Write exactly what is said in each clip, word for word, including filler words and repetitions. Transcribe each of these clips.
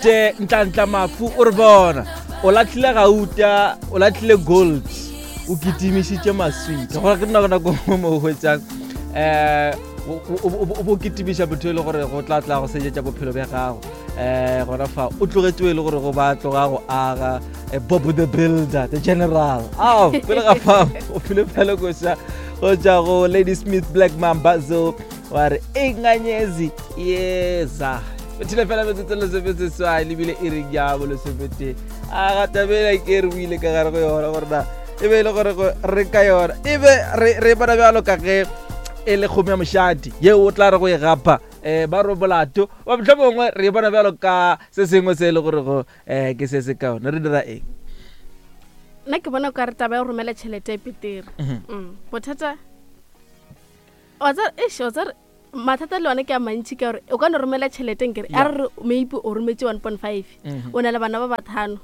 Te Ntlantla Mafu o re bona o latlhile gauta, o latlhile gold, o kitimišitše maswika. Gore ke nako nako mo o hwetšang um o bo kitimiša motho e le gore go tla tla go senyetša bophelo bja gago. Um gona fa o tlogetše e le gore go ba tloga go aga Bob the Builder, the general. Ao pele ga fa o file fela koša go tša go Lady Smith Black Mambazo wa re enganyezi yeza. Bethile fela metsotso lesomeseswai lebile e reng ya bolesomete a ga tabela ke re buile ka gare go yona gore na e be e le gore re ka yona e be re bona bjalo ka ge e le kgomo ya mošate yeo o tla re go e gapa um ba re molato ba motlho mongwe re e bona bjalo ka se sengwe se e le gore go um ke se se kaone. Re dira eng? Nna ke bona ka re taba ya go romela tšhelete e petere. Bothata wa tseba eish wa tseba mathata le one ke a mantši ka gore o ka no romela tšhelete nkere a re maybe o rometse one point five o na le bana ba bathano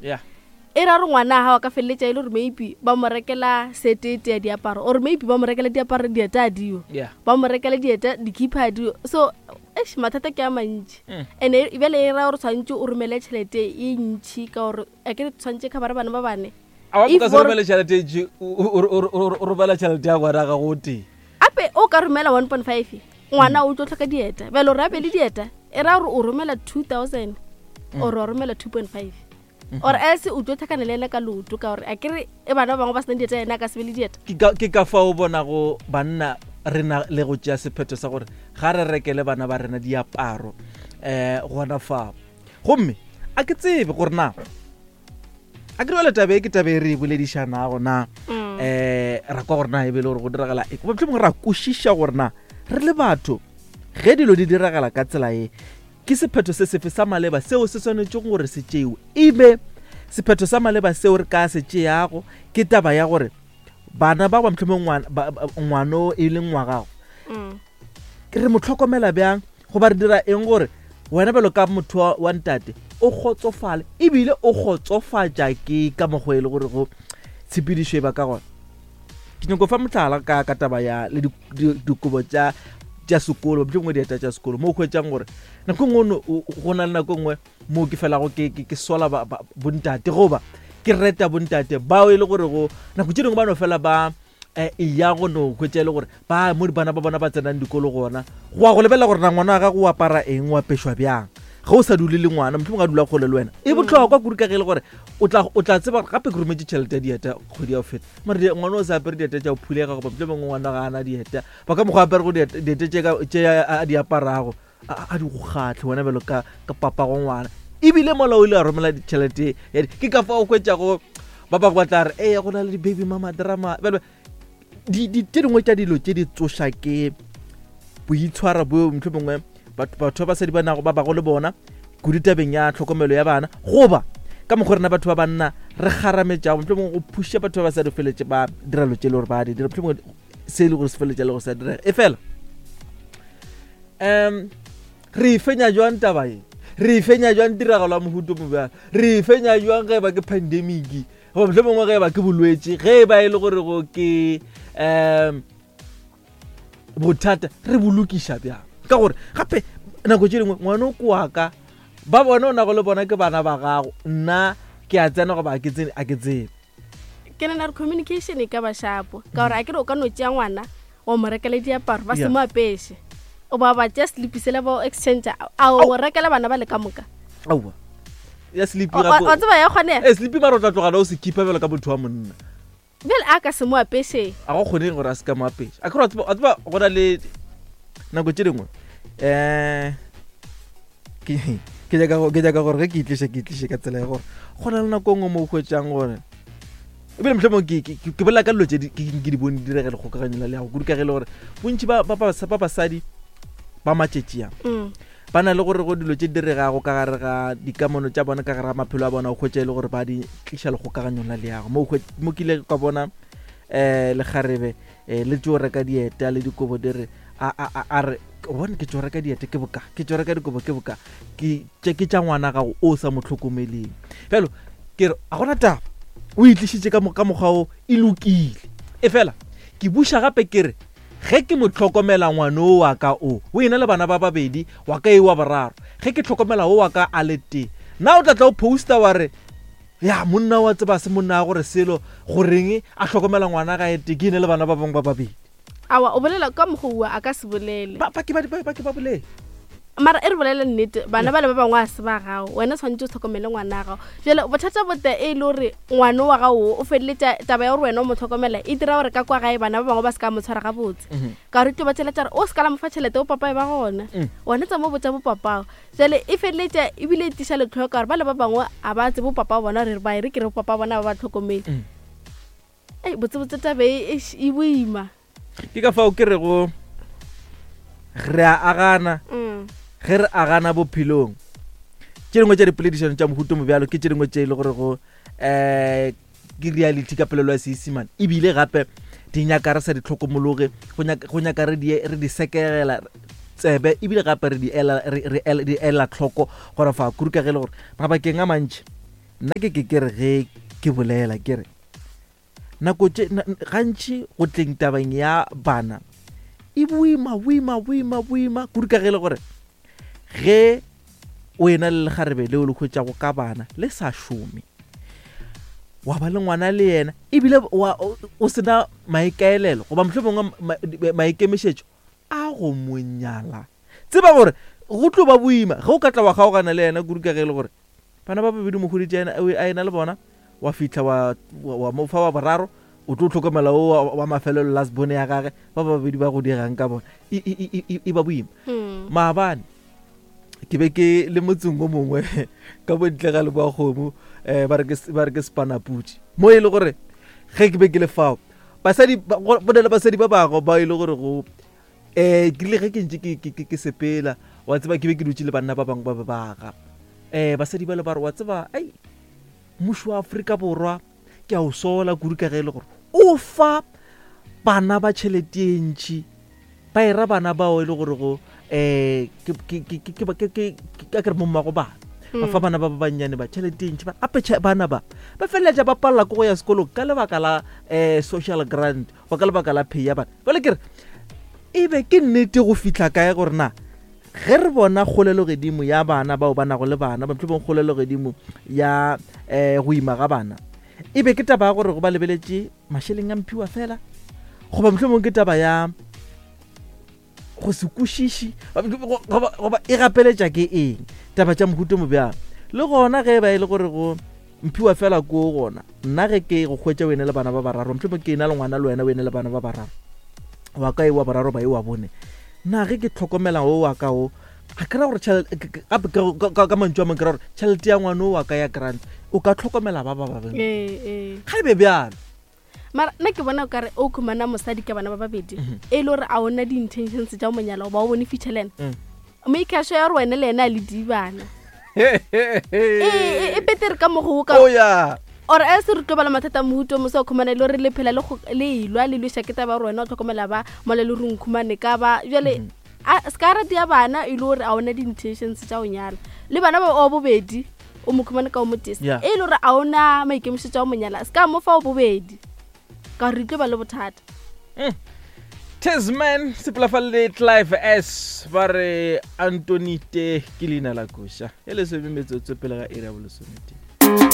e ra gore ngwana a gago a ka feleletša e le gore maybe ba mo rekela setete ya diaparo or maybe ba mo rekela diaparo dieta a dio ba mo rekela dieta dikhipha a dio. So eish mathata ke a mantši and bjale e ra gore tshwanetse o romele tšhelete e ntšhi ka gore a ke tshwanetse khabara bana ba bane. A wa ka se romele tšhelete e ntšhi o romela tšhelete ya ngwana gago o tee ape o ka romela one point five ngwana o tlo tlhoka dieta bjale o rabe le dieta e ra gore o romela two thousand or o romela two point five or else o tlo tlhakana le ena ka leoto ka gore a kere e bana ba bangwe ba sena dieta yena a ka se be le dieta. Ke ka fa o bonago banna re na le go tšea sephetho sa gore ga re rekele bana ba rena diaparo um gona fao. Gomme a ke tsebe gore na a ke re tabe ke tabe re boledišanago na um ra kwa gore na e be le gore go diragala e mohlomongwe ra kwešiša gore na re le batho ge dilo di diragala ka tsela e ke sephetho se sefe sa maleba seo se swanetšego gore se tšewe. Ebe sephetho sa maleba seo re ka se tšeago ke taba ya gore bana ba ba mohlomongwe ngwano e leng wa gago re mo tlhokomela bjang goba re dira eng gore wena bjalo ka motho wa ntate o kgotsofale ebile o kgotsofatša ke ka mokgwa e le gore go tshepedišo e ba ka gona. Ke nyako fa mohlala ka ka taba ya le dikobo tša tša sekolo mohlomongwe dieta tša sekolo mo o hwetšang gore nako nngwe go na le nako nngwe mo ke felago ke ke sola bontate goba ke reta bontate bao e le gore go nako tše dingwe ba no fela ba e ya go no hwetša e le gore ba mo bana ba bona ba tsenang dikolo gona go a go lebelela gore na ngwana wa gago o apara eng o apešwa bjang ge o sa dule le ngwana mohlomongwe a dula kgole le wena e bohlokwa kudu ka ge e le gore o tla o tla tseba gape ke rometse tšhelete ya dieta kgwedi ya go feta mare ngwana o sa apere dieta tša go phulega goba mohlomongwe ngwana ga ana dieta ba ka mokgwa apere go dieta tše a di aparago a di go kgatlhe wena bjalo ka ka papago ngwana ebile mola o ile a romela ditšhelete ke ka fa o hwetšago ba bangwe ba tla re ee go na le di-baby mama drama bjalo di tše dingwe tša dilo tše di tsoša ke boitshwaro bo mohlomongwe batho ba basadi ba nago ba bago le bona kudu tabeng ya tlhokomelo ya bana goba ka mokgwa rena batho ba banna re kgarametšago mohlomongwe go phuša batho ba basadi feletše ba dira lo tše le gore ba di dira mohlomongwe se e le gore se feletša le go sa direga e fela um re e fenya jwang taba e re e fenya jwang tiragalo ya mohuto mo bjalo re e fenya jwang ge e ba ke pandemic goba mohlomongwe ge e ba ke bolwetši ge e ba e le gore go ke um bothata re bolokiša bjang ka gore gape nako tše dingwe ngwana o ko wa ka ba bona o nago le bona ke bana ba gago nna ke a tsena goba a ke tsene a ke tsebe. Ke nana re communication e ka ba shapo ka gore a kere o ka no tšea ngwana wa mo rekela diaparo ba se mo apeše o ba ba tšea sleep sela ba exchange a o rekela bana ba le ka moka aowa ya sleep wa tseba ya kgonega e sleep mara o tla tlogela o se keepa bjalo ka motho wa monna bjale a ka se mo apeše a go kgoneng gore a se ka mo apeše a kere wa tseba go na le nako tše dingwe um ke nyaka gore ge ke itliše ke itliše ka tsela ya gore go na le nako nngwe mo o hwetšang gore ebile mohlomongwe ke bolela ka dilo tše ke di bone di direga lekgokaganyo la leago kudu ka ge e le gore bontši ba basadi ba matšetši a ba na le gore go dilo tše diregago ka gare ga dikamano tša bona ka gare ga maphelo a bona o hwetša e le gore ba di tliša lekgokaganyong la leago mo kile ka bona um lekgarebe um le tšo reka dieta le dikobo di re a re bone ke tšo reka dieta ke boka ke tšo reka dikobo ke boka ke ke tša ngwana gago o sa mo tlhokomeleng bjalo ke re a gona taba o itlišitše ka mokgwa o e lokile e fela ke buša gape ke re ge ke mo tlhokomela ngwana o wa ka o o ena le bana ba babedi wa ka e wa boraro ge ke tlhokomela o wa ka a le tee Na o tla tla o posta wa re ya monna wa tseba se monna wa gore selo goreng a hlokomela ngwana ga ete ke ene le bana ba bangwe ba babedi. Awa, o bolela ka mokgwa a ka se bolele. Ba ba ke ba ba ba ke ba bolele. Mara e re bolele nnete, bana ba le ba bangwe a se ba gago, wena tshwanetse o tlhokomele ngwana wa gago. Jale bothata bote e le gore ngwana wa gago o feleletša taba ya gore wena o mo tlhokomela e dira gore ka kwa gae bana ba bangwe ba se ka mo tshwara gabotse, ka gore tlo ba tšhela tša re o se ka la mo fa tšhelete o papa e ba gona, wena tsa mo botsa bo papago. Jale e feleletša ebile e tiša letlhoyo ka gore ba le ba bangwe a ba tsebe bo papa bona re ba e re ke re bo papa bona ba ba tlhokomele. Ei, botsebotse taba e e boima. Ke ka fao ke rego re a agana, ge re agana bophelong. Tše dingwe tša dipoledišano tša mohuto mo bjalo ke tše dingwe tše e le gore go um ke reality ka polelo ya Seisemane, ebile gape di nyaka re sa di tlhokomologe, go nyaka re di re di sekegela tsebe, ebile gape re di ela re di ela tlhoko gore fa kudu ka ge le gore mabakeng a mantši nna ke ke ke re ge ke bolela ke re nako tše gantši go tleng tabeng ya bana e boima boima boima boima kudu ka ge le gore ge o ena le lekgarebe leo le hwetšago ka bana le sa šome, wa ba le ngwana le yena ebile o sena maikaelelo goba mohlomongwe maikemišetšo a go mo nyala, tseba gore go tlo ba boima ge o ka tla wa kgaogana le yena kudu ka ge le gore bana ba babedi mo hweditše a ena le bona, wa fihla wa wa mo fa wa boraro o tlo tlhokomela o wa mafelelo last bone ya gage, ba babedi ba go dirang ka bona e ba boima. Maabane ke be ke le motseng o mongwe ka bontle ga leboa kgomo, um ba re ke Spanaputše, mo e le gore ge ke be ke le fao basadi go na le basadi ba bangwe ba e le gore go um ke rile ge ke ntše ke sepela wa tseba ke be ke dutše le banna ba bangwe ba ba baga, um basadi ba le ba re wa tseba ai mmušo wa Afrika Borwa ke a o sola kudu ka ge e le gore o fa bana ba tšhelete e ntši, ba era bana bao e le gore go um ke re mommago bana ba fa bana ba ba bannyane ba tšhelete e ntši, gape bana ba ba feleletša ba palela ke go ya sekolong ka lebaka la um social grant goba ka lebaka la pay ya bana. Jwale ke re e be ke nnete go fihla kae gore na ge re bona kgolelogodimo ya bana bao ba nago le bana, mohlomong kgolelogodimo ya um go ima ga bana, e be ke taba ya gore go ba lebeletše mašeleng a mphiwa fela, goba mohlomong ke taba ya go se kwešiše, goba e gapeletša ke eng taba tša mohuto mo bjalo. Le gona ge ba e le gore go mphiwa fela ko gona, nna ge ke go hwetša wena le bana ba bararo, mohlomong ke ena le ngwana le wena o ene le bana ba bararo, wa ka e wa boraro ba e wa bone, na ge ke tlhokomela o wa ka o a kry-a gore gape ka mantšu a mangwe ke ra gore tšhelete ya ngwana o wa ka ya grant o ka tlhokomela ba ba babedi ga e be bjalo. Mara nna ke bona o kare o khumana mosadi ka bana ba babedi e le gore a ona di-intentions tša go monyala goba o bone future le ena, maikašo ya gore wena le ena a le dibana e petere ka mogo ka or a se re tlo ba le mathata mohuto mo sa o khumana e le gore le phela le ilwa le lweša ke taba gore wena o tlhokomela ba mola le reng khumane ka ba jale a se ka rate ya bana e le gore a ona di-intentions tša go nyala le bana ba o bobedi o mo khumane ka o motese e le gore a ona maikemišetšo a go monyala se ka mo fa o bobedi ka re tlo ba le bothata. Tasman sepelafalle Clive S ba re Antonite ke leina la koša e lesome metsotso pele ga iri ya bolesometee.